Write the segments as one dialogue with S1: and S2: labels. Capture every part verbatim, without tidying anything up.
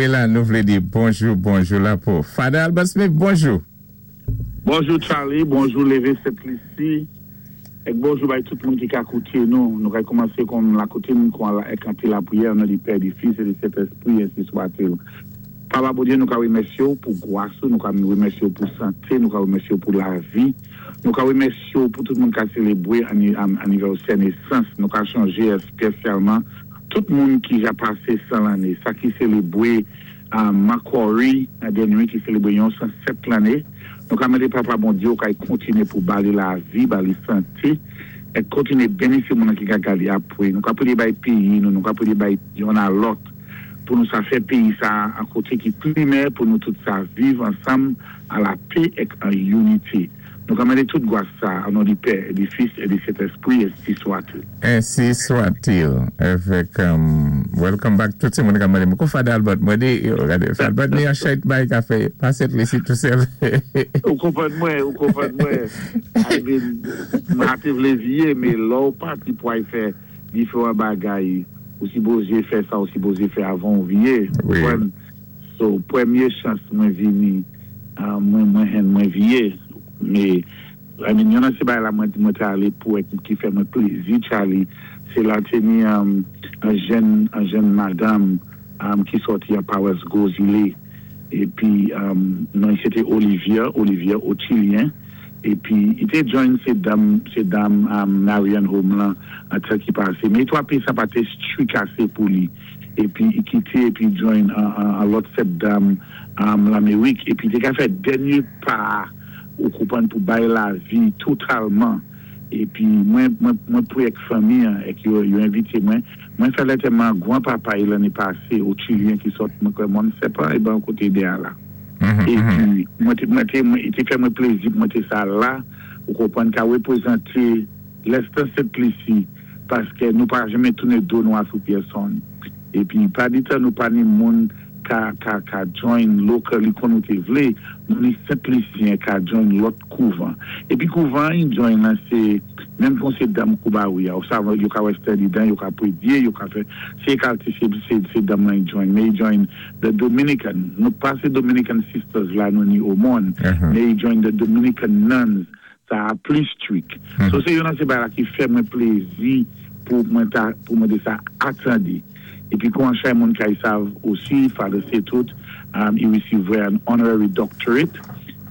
S1: Anyway la, nou vlé di bonjou, bonjou la pou Father Albert Smith, bonjou.
S2: Bonjou Charlie, bonjou Lévé Sent-Lisi, é bonjou bay tout moun ki ka kouté nou. Nou kay kòmansé kòm la koutim, kon la kanté la priyè, o non di Pè, di Fis é di Sentèspwi, ensi swa-t-il. Papa Bondyé, nou ka wimèsyé ou pou gwas ou, nou ka wimèsyé ou pou santé, nou ka wimèsyé ou pou lavi, nou ka wimèsyé ou pou tout moun ka sélébwé anivèsè nésans, nou ka chonjé èspesyalman tout moun ki ja pasé san lanné, sa ki sélébwé Macquarie, denwi ki sélébwé yon san sèt lanné, nou ka mandé Papa Bondyé ou kay kontiné pou ba li lavi, ba li santé, é kontiné béni sé moun ki ka gadé apwé, nou ka pwiyé bay péyi nou, nou ka pwiyé bay youn a lòt, pou nou sa fè péyi sa an koté ki pli meyè pou nou tout sa viv ansanm a la pè é an inité. Nou ka mandé tout gwas sa o non di Pè, di Fis é di Sentèspwi, ensi swa-t-il.
S1: Ensi swa-t-il. Avèk, um, welcome back tout sé moun ka mandé. Mwen Father Albert, mwen di, yo, gadé, Father Albert ni an chay bay ka fè, pa Sent-Lisi tou sèl.
S2: Ou konpwann mwen, ou konpwann mwen. I mean, mwen te vlé viyé, mé lò ou pati pou ay fè diferan bagay, ou sipozé fè sa, ou sipozé fè avan ou viyé.
S1: Wi.
S2: So, pwémyé chans mwen vini, mwen mwen hen mwen viyé, mé, I mean, yon nan sé bagay la mwen mwen té alé pou èt ki fè mwen plézi, Charlie, sé la té ni um, an jèn, an jèn madam um, ki sòti a Pawas Gozile, épi um, non, sé té Olivier, Olivier Otilien, épi i té join sé dam, sé dam um, Marian Home lan, an tan ki pasé, mé twa pi sa pa té strik asé pou li, épi i kité, épi join an, an, an lòt sèt dam um, Lamérik, épi té ka fè dènyé pa ou konpwann pou bay lavi totalman, épi mwen, mwen, mwen pou ek fanmi an, ek yo, yo envité mwen, mwen fè lantèman gwan papa i lanné pasé, Otilien ki sot mwen kwè Mòn Sèpan, é ban koté de a la. Épi, mwen té, mwen té, mwen, i té fè mwen plézi, mwen té sa la, ou konpwann ka wépwézanté lèstan Sent-Lisi, paské nou pa janmé touné do nou a sou pèsonn. Épi, pa di tan nou pa ni moun ka, ka, ka join locally kon nou té vlé, nou ni Sent-Lisyen ka join lòt kouvan. Épi kouvan yon join lan sé, menm kon sé dam Koubawi ya, ou sa yo ka wè study dan, yo ka pwédyé, yo ka fè, sé kalte sé, sé, sé dam lan join, mé yi join the Dominican, nou pa sé Dominican Sisters la nou ni Omon,
S1: Uh-huh.
S2: mé yi join the Dominican Nuns, sa a pli strik. So sé yon nan sé bagay la ki fè mwen plézi pou mwen ta, pou mwen té sa atandé. Épi kon chay moun kay sav osi, Father Setout, um, i resivwé an honorary doctorate,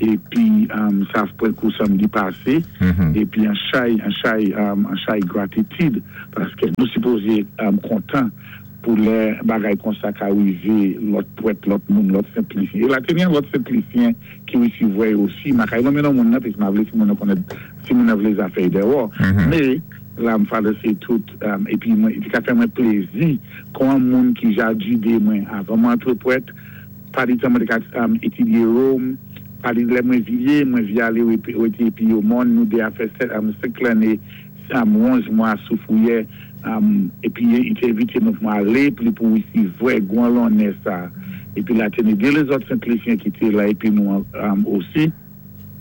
S2: épi um, sa pwen kou samdi pasé,
S1: Mhm.
S2: épi an chay, an chay, um, an chay gratitid, paské nou sipozé um, kontan pou lè bagay kon sa ka rivé lòt pwèt, lòt moun, lòt Sent-Lisyen. É la té ni an lòt Sent-Lisyen ki resivwé osi, ma kay nonmen non moun nan, pis ma vlé si moun nan konnèt, si moun nan vlé zafè déwò.
S1: Mhm.
S2: Mé, la m Father Setout, um, épi mwen, i ka fè mwen plézi kon an moun ki ja jidé mwen avan mwen antré pwèt, pa di tan mwen te ka um, étudié Rome, pa di lè mwen viyé, mwen viyé alé wété épi yo moun, nou dé a fè sèt, um, senk lanné, um, onz mwa sou Fouyè, um, épi i té envité mwen pou mwen alé, pou pou resivwé gwan lonnè sa. Épi la té ni dé lézòt Sent-Lisyen ki té la, épi nou um, osi,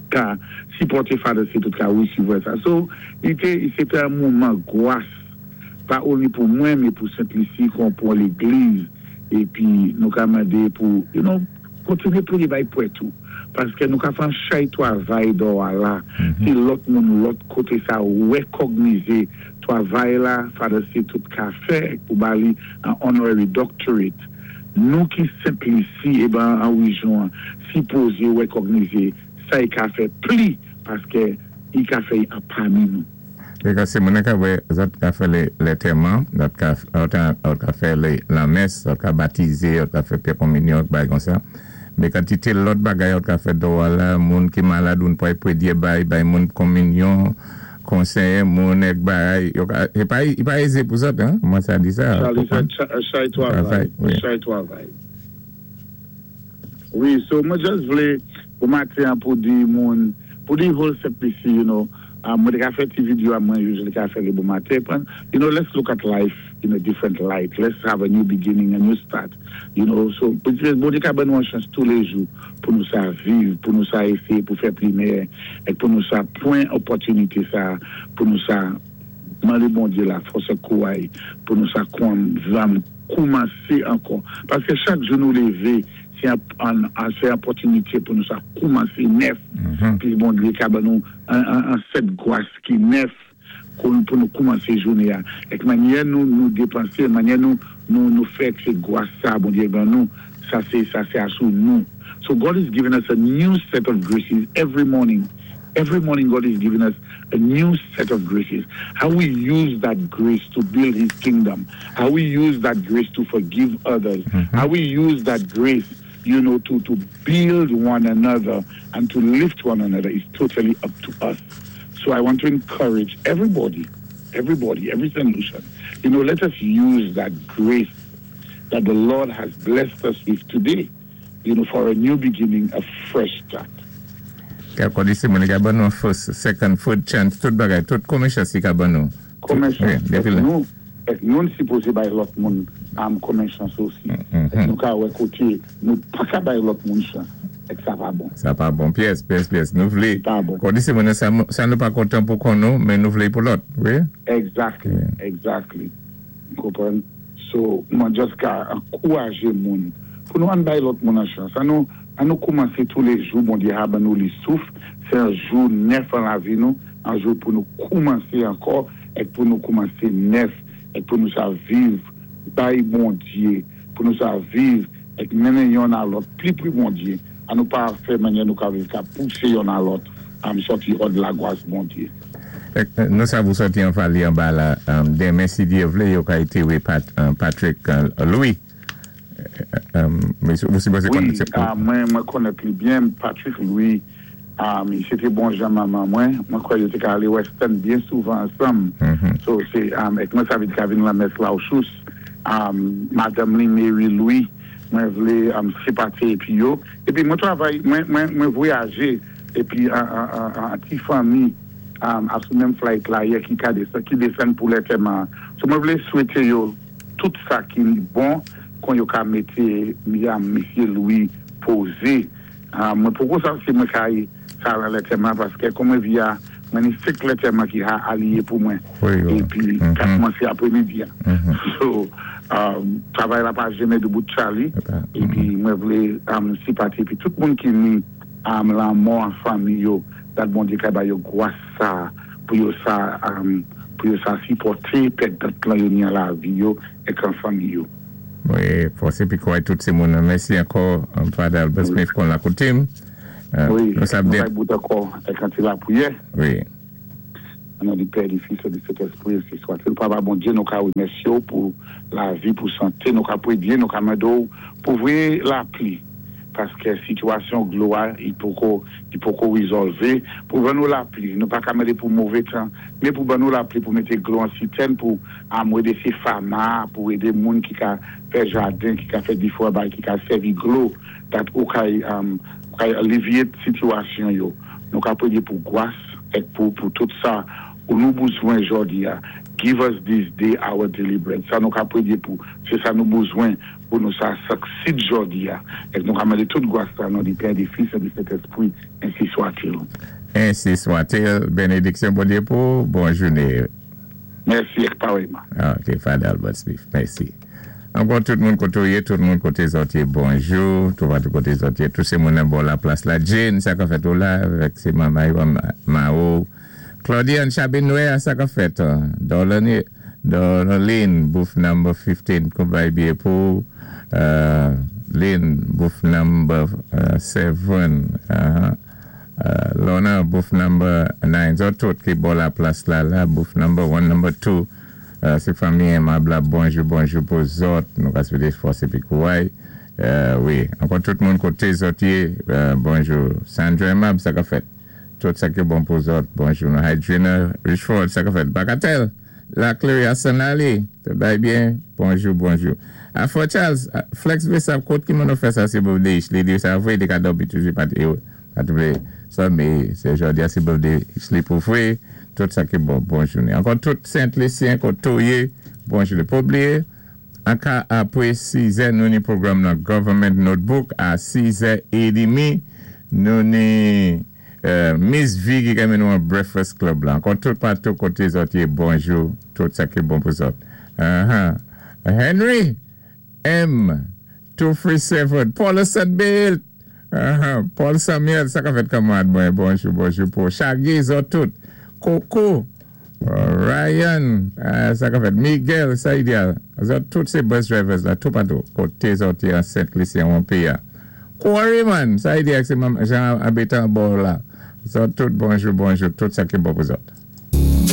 S2: ka sipòté Father Setout ka resivwé sa. So, i té, sé té an moman gwas, pa only pou mwen, mé pou Sent-Lisi, kon pou légliz, épi nou ka mandé pou, you know, kontiné pou li bay pwèt tou. Paské nou ka fè an chay twavay dò a la, si lòt moun lòt koté sa wékògnizé twavay la, Father Setout ka fè pou ba li an honorary doctorate. Nou ki Sent-Lisi, é ben an wéjyon, sipozé wékògnizé sa i ka fè pli, paské i ka fè an pami nou.
S1: É ka sé moun ka wè, zòt ka fè lé, lantèman, zòt ka, zòt ka fè lé, la mès, zòt ka batizé, zòt ka fè pyè konminyon, bagay kon sa. Mé kantité lòt bagay zòt ka fè dò a la, moun ki malad, moun pou pwédyé bay, bay moun konminyon, konsèyé moun ek bagay, yo ka, é pa, i pa ézé pou zòt, hein? Mwen sa di sa.
S2: Charlie, sa, chay twavay,
S1: Wi.
S2: chay twavay. Wi, so mwen just vlé pou maten an pou di moun, pou di whole Sent-Lisi, you know, um, mwen té ka fè ti video a mwen usually ka fè lé bon maten, pran, you know, let's look at life in a different light. Let's have a new beginning, a new start. You know, so, Bondyé ka ban nou an chans tou lé jou pou nou sa viv, pou nou sa éséyé, pou fè pli meyè, é pou nou sa pwan opòtinité sa, pou nou sa mandé Bondyé la fòs é kouway, pou nou sa kwan zam Koumansé ankò. Paski chak jou nou lévé, sé an, an, sé opòtinité pou nou sa koumansé nèf. Pi Bondyé ka ban nou an, an, an set gwas ki nèf pou nou koumansé jouné. Ek mannyè nou nou dépansé, mannyè nou nou nou fè sé gwas sa, Bondyé ban nou, sa sé sa sé asou nou. So God is giving us a new set of graces every morning. Every morning God is giving us a new set of graces. How we use that grace to build his kingdom. How we use that grace to forgive others. How we use that grace, you know, to, to build one another and to lift one another is totally up to us. So I want to encourage everybody, everybody, every Saint Lucian, you know, let us use that grace that the Lord has blessed us with today, you know, for a new beginning, a fresh start.
S1: Ka di sé moun ka ban nou first, second, third chance, tout bagay, tout konmen chans i ka ban nou.
S2: Konmen chans. Ek nou, ek nou sipozé bay lòt moun am konmen chans osi. Ek nou ka wè koté, nou pa ka bay lòt moun chans. Ek sa pa bon.
S1: Sa pa bon. Pyès, pyès, pyès. Nou vlé,
S2: Pa bon.
S1: Kon di sé moun sa, sa nou pa kontan pou kon nou, men nou vlé pou lòt, wi?
S2: Exactly, exactly. Konpwann? So, mwen just ka ankourajé moun pou nou an bay lòt moun an chans. An nou, an nou koumansé tou lé jou, Bondyé a ban nou li souf, sé an jou nèf an lavi nou, an jou pou nou koumansé ankò, ek pou nou koumansé nèf, ek pou nou sa viv, bay Bondyé, pou nou sa viv, ek mennen yonn a lòt, pli pwi Bondyé, an nou pa fè mannyè nou ka viv ka poussé yonn a lòt, am sòti hors de la gwas Bondyé.
S1: Nou sa vou sòti an fali an ba la, demen si Dyé vlé, yo ka ité wé Patrick Louis. Vous supposez
S2: Wi,
S1: connaître.
S2: mwen mwen konnèt li byen, Patrick Louis, um, sé té bon jan manman mwen, mwen kwè yo té ka alé Western byen souvan ansanm. So sé, um, ek mwen savé ka vin la mès la ou chous, um, Madame li Mary Louis, mwen vlé um, sipati épi yo. Épi mwen travay, mwen, mwen, mwen vwayajé, épi an, an, an, an ti fanmi, um, asou menm flight la yè ki ka desann, ki desann pou lantèman. So mwen vlé swété yo tout sa ki bon kon yo ka mété mi- Mesye Louis pozé. Uh, mwen poko sa si mwen ka yi sa la lantèman paski kon mwen via mwen ni sik lantèman ki ha aliyé pou mwen.
S1: Wi, wi.
S2: Épi ka koumansé apwémidi. So, um, travay la pa jenmen doubout Charlie. Épi mwen vlé um, sipati. Épi tout moun ki ni um, lanmò an fanmi yo, dat Bondyé ka ba yo gwas sa pou yo sa um, pou yo sa sipòté pèt dat lan yo ni an lavi yo ek an fanmi yo.
S1: Wi, fòs épi kwè tout sé moun. Mèsi ankò, Father Albert Smith kon la koutim.
S2: Wi,
S1: Nou sa
S2: nou
S1: byen.
S2: bay bout ankò ek an ti lapwiyè.
S1: Wi.
S2: An non di Pè, di Fis, di Sentespwi, ainsi soit-il. Papa Bondyé, nou ka wémèsyé ou pou lavi, pou santé, nou ka pwédyé, nou ka mandé ou pou voyé lapli. Paski sitiyasyon dlo a, i poko, i poko wézòlvé. Pou ban nou lapli, nou pa ka mandé pou mové tan, mé pou ban nou lapli pou mété dlo an sitèn pou amwédé sé fama, pou édé moun ki ka fè jaden, ki ka fè difwa bay, ki ka sèvi dlo, dat ou kay, um, ou kay alivyé sitiyasyon yo. Nou ka pwédyé pou gwas ek pou, pou tout sa ou nou bezwen jòdi a. Give us this day our daily bread. Sa nou ka pwédyé pou, sé sa nou bezwen pou nou sa succeed jòdi a. Ek nou ka mandé tout gwas sa non di Pè, di Fis, et di Sentespwi, ainsi soit-il.
S1: Ainsi soit-il. Bénédiksyon Bondyé pou, bon jouné.
S2: Mèsi ek parèyman.
S1: Ok, Father Albert Smith, mèsi. Ankò tout moun koté ou yé, tout moun koté zòt yé, bonjou, tout tout koté zòt yé, tout sé moun nan bò la plas la. Jane, sa ka fèt ou la, avèk sé manman yo, Mao. Claudiane Chabinoué, sa ka fèt. Dolani, Donaline, booth number fifteen, kon bay biyé pou. Uh, Lynn, booth number seven. Uh, uh, Lorna, booth number nine. Zòt tout ki bò la plas la la, booth number one, number two. Uh, sé fanmi Aimable la, bonjou, bonjou pou zòt. Nou ka swété fòs épi kouway. Uh, wi, ankò tout moun koté zòt yé, uh, bonjou. Sandra Aimable, sa ka fèt. Tout sa ki bon pou zòt, bonjou. Nou Hydrina Richford, sa ka fèt. Bagatelle, la Clary Arsenali, tout bay byen, bonjou, bonjou. Afro Charles, Flex Bessap, kote ki moun nou fè sa sé birthday, li di sa vwé, di ka dobi toujou pati, pati vlé, sa mé, sé jòdi a sé birthday, li pou vwé, tout sa ki bon, bon jouné. Ankò tout Saint-Lucien, koté ou yé, bonjou. Pa bliyé, an ka apwé sis è, nou ni pwogram nan Government Notebook, a sis è édmi, nou ni euh, Miss V ki ka mennen nou an Breakfast Club la. Ankò tout patou koté zòt yé, bonjou, tout sa ki bon pou zòt. Uh-huh. Henry, M, two three seven, Paul Saint-Bill, uh-huh. Paul Samuel, sa ka fèt kanmwad mwen, bonjou, bonjou pou Chagi, zòt tout, Coco, Ryan, uh, sa ka fèt, Miguel, sa idéal, zòt tout sé bus drivers la, tout patou, koté zòt an Sent Lisi an péyi. Quarryman, sa idéal sé Jean abitan bò la, zòt tout bonjou, bonjou, tout sa ki bon pou zòt.